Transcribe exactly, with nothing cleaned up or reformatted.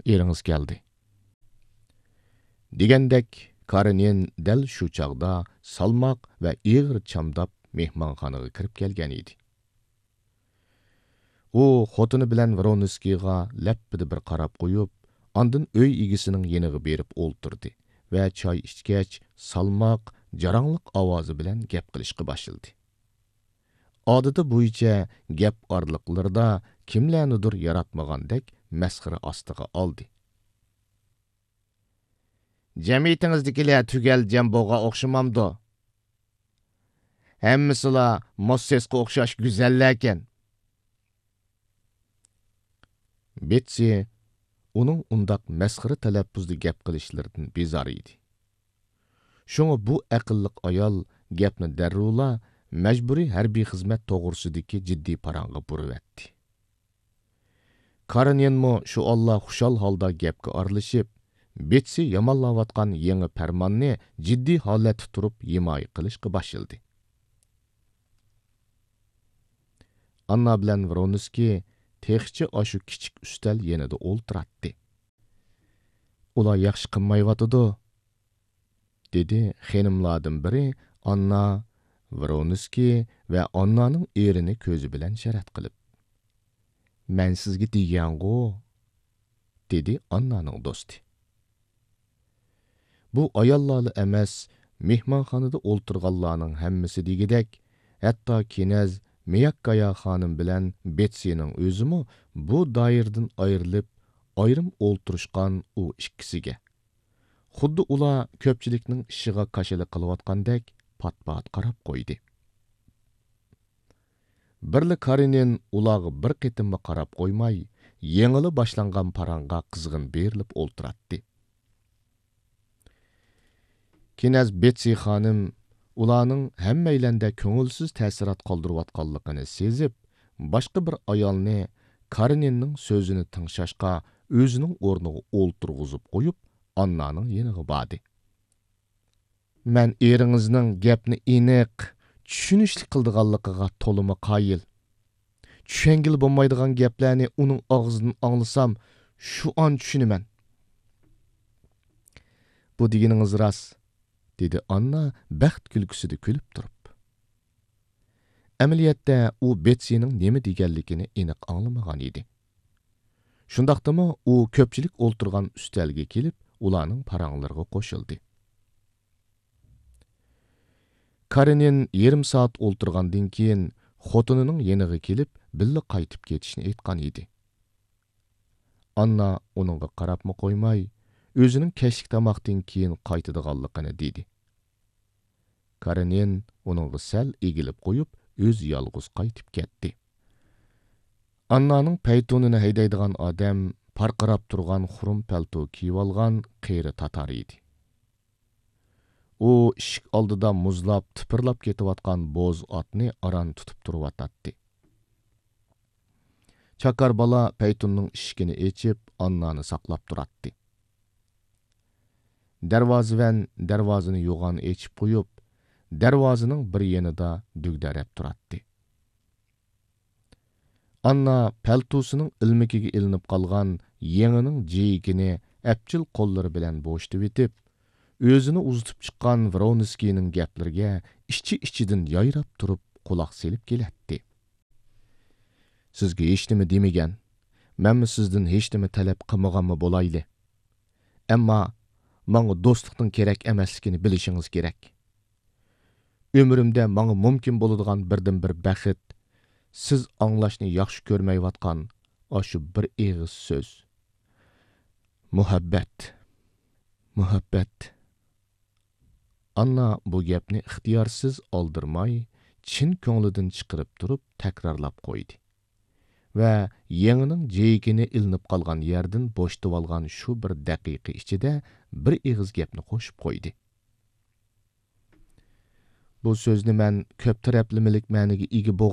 ئېرىڭىز كەلدى.» دېگەندەك، كارېنىن دەل شۇ چاغدا سالماق ۋە ئېغىر چامداپ مېھمانخانىغا كىرىپ كەلگەن ئىدى. ئۇ خوتۇنى بىلەن ۋرونسكىيغا لەپپىدە بىر قاراپ قويۇپ، ئاندىن ئۆي ئىگىسىنىڭ يېنىغا بېرىپ ئولتۇردى ۋە چاي ئىچكەچ، سالماق، جاراڭلىق ئاۋازى بىلەن گەپ قىلىشقا باشلىدى. ئادىتى بويىچە گەپ ئارىلىقلىرىدا كىملەرنىدۇر ياراتمىغاندەك مەسخىرە ئاستىغا ئالدى. «جەمئىيىتىڭىزدىكىلەر تۈگەل جەمبوغا ئوخشىمامدۇ؟ ھەممىسىلا موسسېسقا ئوخشاش گۈزەللەركەن.» بېتسى ئۇنىڭ ئۇنداق مەسخىرە تەلەپپۇزدا گەپ قىلىشلىرىدىن بىزار ئىدى. شۇڭا بۇ ئەقىللىق ئايال گەپنى دەررۇلا مەجبۇرىي ھەربىي خىزمەت توغرىسىدىكى جىددىي پاراڭغا بۇرۇۋەتتى. كارېنىنمۇ شۇ ئاللا خۇشال ھالدا گەپكە ئارىلىشىپ، بېتسى يامانلاۋاتقان يېڭى پەرماننى جىددىي ھالەتتە تۇرۇپ ھىمايە قىلىشقا باشلىدى. ئاننا بىلەن ۋرونسكىي تېخىچە ئاشۇ كىچىك ئۈستەل يېنىدا ئولتۇراتتى. «ئۇلار ياخشى قىلمايۋاتىدۇ»، دېدى خېنىملاردىن بىرى ئاننا، ۋرونسكىي ۋە ئاننانىڭ ئېرىنى كۆزى بىلەن شەرەت قىلىپ. «مەن سىزگە دېگەنغۇ»، دېدى ئاننانىڭ دوستى. بۇ ئاياللارلا ئەمەس، مېھمانخانىدا ئولتۇرغانلارنىڭ ھەممىسى دېگۈدەك، ھەتتا كېنەز مىياككايا خانىم بىلەن بېتسىنىڭ ئۆزىمۇ بۇ دائىرىدىن ئايرىلىپ، ئايرىم ئولتۇرۇشقان ئۇ ئىككىسىگە، خۇددى ئۇلار كۆپچىلىكنىڭ ئىشىغا كاشىلا قىلىۋاتقاندەك پات-پات قاراپ قويدى. بىرلا كارېنىن ئۇلارغا بىر قېتىممۇ قاراپ قويماي، يېڭىلا باشلانغان پاراڭغا قىزغىن بېرىلىپ ئولتۇراتتى. كېنەز بېتسى خانىم ئۇلارنىڭ ھەممەيلەندە كۆڭۈلسىز تەسىرات قالدۇرۇۋاتقانلىقىنى سېزىپ، باشقا بىر ئايالنى كارېنىننىڭ سۆزىنى تىڭشاشقا ئۆزىنىڭ ئورنىغا ئولتۇرغۇزۇپ قويۇپ، ئاننانىڭ يېنىغا باردى. مەن ئېرىڭىزنىڭ گەپنى ئېنىق، چۈشىنىشلىك قىلىدىغانلىقىغا تولىمۇ قايىل. چۈشەنگىلى بولمايدىغان گەپلەرنى ئۇنىڭ ئاغزىدىن ئاڭلىسام، شۇ ئان چۈشىنىمەن. بۇ دېگىنىڭىز راست، دېدى ئاننا بەخت كۈلكىسىدە كۈلۈپ تۇرۇپ. ئەمەلىيەتتە ئۇ بېتسىنىڭ نېمە دېگەنلىكىنى ئېنىق ئاڭلىمىغان ئىدى. شۇنداقتىمۇ ئۇ كۆپچىلىك ئولتۇرغان ئۈستەلگە كېلىپ، ئۇلارنىڭ پاراڭلىرىغا قوشۇلدى. كارېنىن يېرىم سائەت ئولتۇرغاندىن كېيىن، خوتۇنىنىڭ يېنىغا كېلىپ، بىللە قايتىپ كېتىشنى ئېيتقان ئىدى. ئاننا ئۇنىڭغا قاراپمۇ قويماي، ئۆزىنىڭ كەچلىك تاماقتىن كېيىن قايتىدىغانلىقىنى دېدى. كارېنىن ئۇنىڭغا سەل ئېگىلىپ قويۇپ، ئۆزى يالغۇز قايتىپ كەتتى. ئاننانىڭ پەيتۇنىنى ھەيدەيدىغان ئادەم پارقىراپ تۇرغان خۇرۇم پەلتو كىيىۋالغان قېرى تاتار ئىدى. ئۇ ئىشىك ئالدىدا مۇزلاپ، تىپىرلاپ كېتىۋاتقان بوز ئاتنى ئاران تۇتۇپ تۇرۇۋاتاتتى. چاكار بالا پەيتۇننىڭ ئىشىكىنى ئېچىپ، ئاننانى ساقلاپ تۇراتتى. دەرۋازىۋەن دەرۋازىنى يوغان ئېچىپ قويۇپ، دەرۋازىنىڭ بىر يېنىدا دۈگدەرەپ تۇراتتى. ئاننا پەلتوسىنىڭ ئىلمىكىگە ئىلىنىپ قالغان يېڭىنىڭ جىيىكىنى ئەپچىل قوللىرى بىلەن بوشىتىۋېتىپ، ئۆزىنى ئۇزىتىپ چىققان ۋرونسكىينىڭ گەپلىرىگە ئىچى-ئىچىدىن يايراپ تۇرۇپ قۇلاق سېلىپ كېلەتتى. سىزگە ھېچنېمە دېمىگەن، مەنمۇ سىزدىن ھېچنېمە تەلەپ قىلمىغانمۇ بولايلى. ئەمما ماڭا دوستلۇقنىڭ كېرەك ئەمەسلىكىنى بىلىشىڭىز كېرەك. ئۆمرۈمدە ماڭا مۇمكىن بولىدىغان بىردىنبىر بەخت، سىز ئاڭلاشنى ياخشى كۆرمەيۋاتقان ئاشۇ بىر ئېغىز سۆز. مۇھەببەت. مۇھەببەت. ئاننا بۇ گەپنى ئىختىيارسىز ئالدىرىماي، چىن كۆڭلىدىن چىقىرىپ تۇرۇپ تەكرارلاپ قويدى. ۋە يېڭىنىڭ جېيىكىنى ئىلىنىپ قالغان يەردىن بوشىتىۋالغان شۇ بىر دەقىقە ئىچىدە بىر ئېغىز گەپنى قوشۇپ قويدى. بۇ سۆزنى مەن كۆپ تەرەپلىمىلىك مەنىگە ئىگە